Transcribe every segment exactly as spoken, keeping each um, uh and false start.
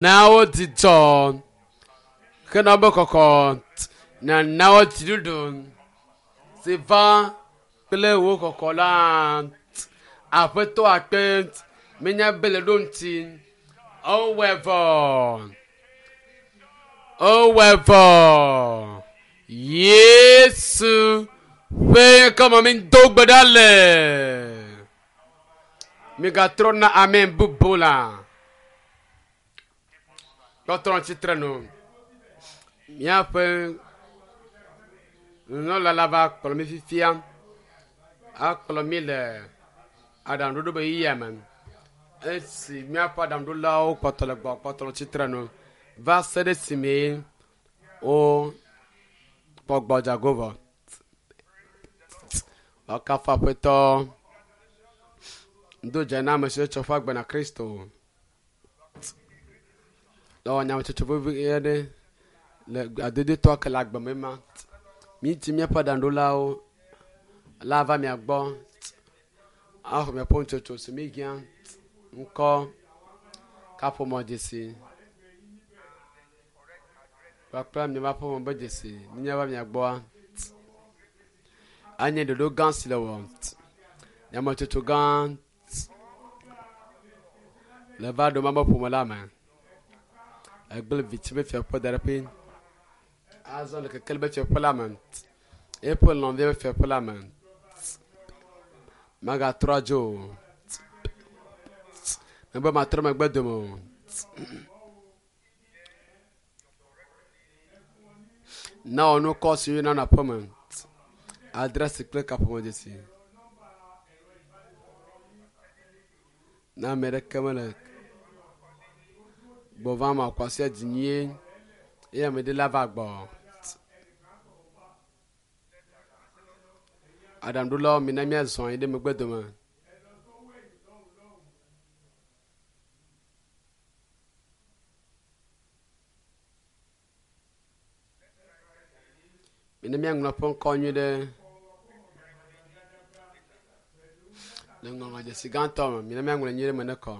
Na wo dzidzɔ hena wobe kɔkɔ. Nana wo dziɖuɖu si va kple wò kɔkɔ la. Aƒetɔ akpe menya be le ɖo ŋuti. Ewɔe vɔ. Ewɔe vɔ. Yesu ƒe ŋkɔme mi do gbe ɖa le. Migatrɔ na amen bubu la. Kpɔtɔ tsitre nu. Míaƒe nunɔla la va kplɔ mi fifia. Akplɔ mi le aɖaŋuɖoɖo be yiyia me. Esi míaƒe aɖaŋuɖolawo kpɔtɔ le gbɔ kpɔtɔ tsitre nu va se ɖe esime wokpɔ gbɔdzago vɔ. Woakafu Aƒetɔ. Do dze na ame siwo tsɔ woƒe agbe na Kristo. Le wɔ nyametsotso vevi aɖe le adodotɔ ke le agbe me ma. Mídi míaƒe aɖaŋuɖolawo la va mia gbɔ axɔ miaƒe nutsotso si míhiã ŋkɔ kaƒomɔ dzesi kpakple miaƒe aƒeme be dzesi ne míava mia gbɔa. Anye ɖoɖo gã si le wɔ nyametsotso gã le va ɖo mabe ƒome la me. Egblẽ viti be fiaƒe da ɖe ƒe. Azɔ le kekeli be fiaƒe la me. Eƒe lɔ̃via be fiaƒe la me. Magatrɔ adzo o. Mebe matrɔ megbe dome o. Na wɔ nukɔ si woyɔna na aƒeme. Adresi kple kaƒomɔ dzesi. Na ame ɖeke mele gbɔ vam akwasi dzi nyuie eye ame ɖe la va gbɔ. Aɖaŋuɖolawo mina míazɔ anyi ɖe megbe dome. Mina míaŋlɔ ƒe ŋkɔ nyui ɖe le ŋɔŋlɔdzesi gãtɔ me. Mina míaŋlɔe nyuie ɖe me ne kɔ.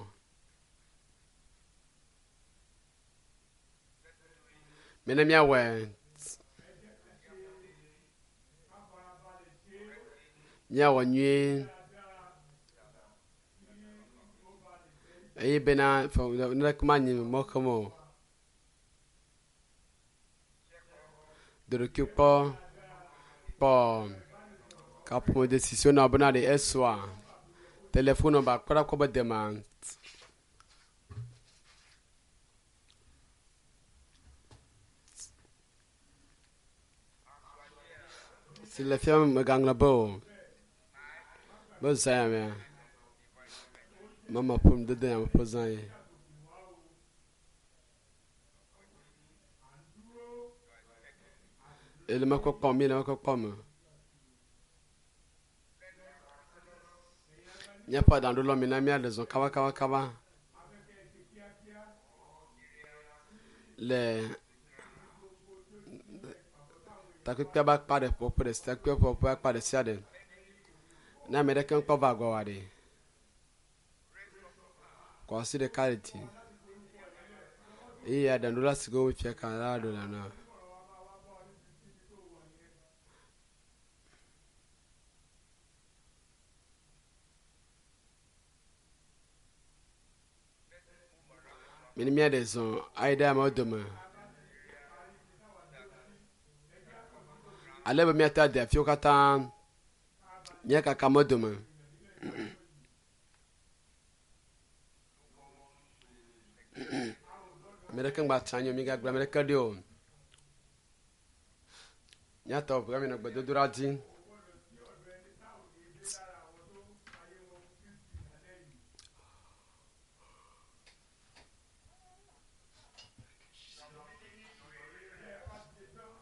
Mina míawɔe. Míawɔ nyuie. Eye bena naneke manyi mɔ xem o. Do ɖokui kpɔ kpɔ kaƒomɔdzesi si wonɔ bena ɖe esɔa telefon nɔmba kpe ɖe kɔ be dema. Si le fia megaŋlɔ be o. Be zã ya mea. Mama ƒe nudodo ya me ƒe zã ye. Ele mekɔ kpɔm, mi le mekɔ kpɔm. Míaƒe aɖaŋuɖolawo mina míaɖe zɔ kaba kaba kaba le takpekpea be akpa ɖe ƒoƒe ɖe sia takpekpea ƒe akpa ɖe sia ɖe. Ne ame ɖeke mekpɔ va gbɔ oa ɖe, kɔ asi ɖeka ɖe dzi eye aɖaŋuɖola si ke wofia ka la ɖo la na. Mini míaɖe zɔ ayi ɖe amewo dome. Ale be míate ade afiwo katã míakaka amewo dome. Ame ɖeke ŋgba tsi anyi o, migagblẽ ame ɖeke ɖi o. Míatɔ ʋu míanɔ gbedodoɖa dzi.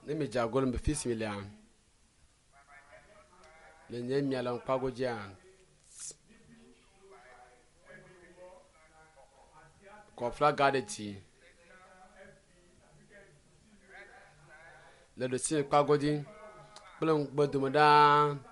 Ne midze ago le fi si milea, le nye mia le ŋkpago dzia, kɔ flaga ɖe dzi. Le ɖusi kpago dzi kple ŋugbe dome ɖaa.